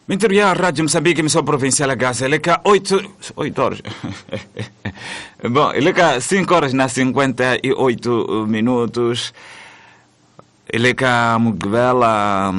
Mintirho ya Radio Moçambique, emissão provincial Gaza, le ka 8, 8 horas. Bom, le ka 5 horas na 58 minutos. Le ka Mugqivela,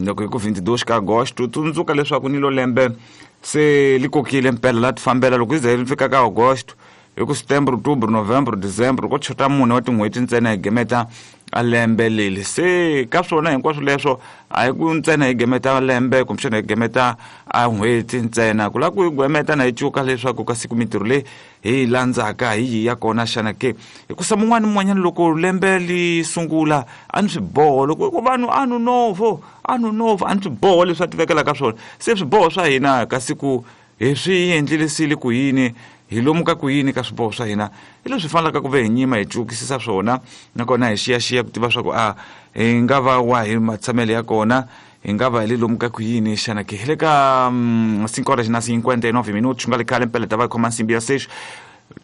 loko hi ku 22 ka Agosto, tsundzuka leswaku ni lo lembe se li kokile mpela la ti fambela loko yi ze yi fika ka Agosto. Hi ku Setembro, Outubro, Novembro, Dezembro, ko chota mune wa tin'hweti ntsena hi gemeta a lembe leli. Se ka swona hinkwaswo leswo a hi ku ntsena hi gemeta lembe kumbexana hi gemeta a n'hweti ntsena, ku lava ku hi gemeta na hi cuka leswaku ka siku mintirho leyi hi yi landzaka hi yi ya kona xana ke. Hikusa mun'wana ni mun'wanyana loko lembe li sungula a ni swiboho, loko ku vanhu ano novo, ano novo, a ni swiboho leswi a ti vekelaka swona. Se swiboho swa hina ka siku hi swi endlilisile ku yini, hi lomu ka ku yini ka swiboho swa hina, hi leswi fanelaka ku ve hi nyima hi cukisisa swona, nakona hi xiyaxiya ku tiva swa ku a hi nga va wa hi matshamelo ya kona, hi nga va hi le lomu ka ku yini xana ke. Hi le ka 5 horas na 59 minutos, nga le khale mpela ta va khoma nsimbi ya 6.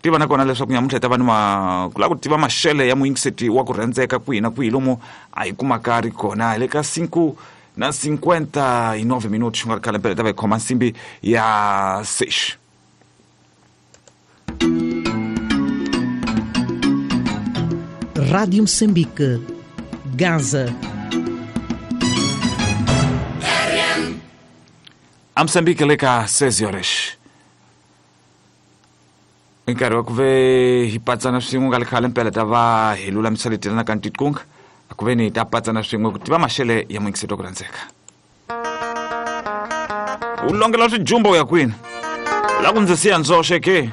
Tiva nakona leswaku nyamuntlha hi ta va ni ma, ku lava ku tiva maxele ya muyingiseti wa ku rhendzeka kwihi na kwihi lomu a hi kumaka ri kona. Hi le ka 5 na 59 minutos, nga ri khale mpela ta va hi khoma nsimbi ya 6. Rádio Moçambique, Gaza. A Moçambique le ka 6 horas. I nkarhi wa ku ve hi patsana swin'we nga le khale mpela ta va hi lulamisa leti na ka ntikunga, a ku ve ni hi ta patsana swin'we ku tiva maxele ya muyingiseti wa ku rhandzeka. U longela swijumba u ya kwini? La ku ndzi siya ndzoxe ke?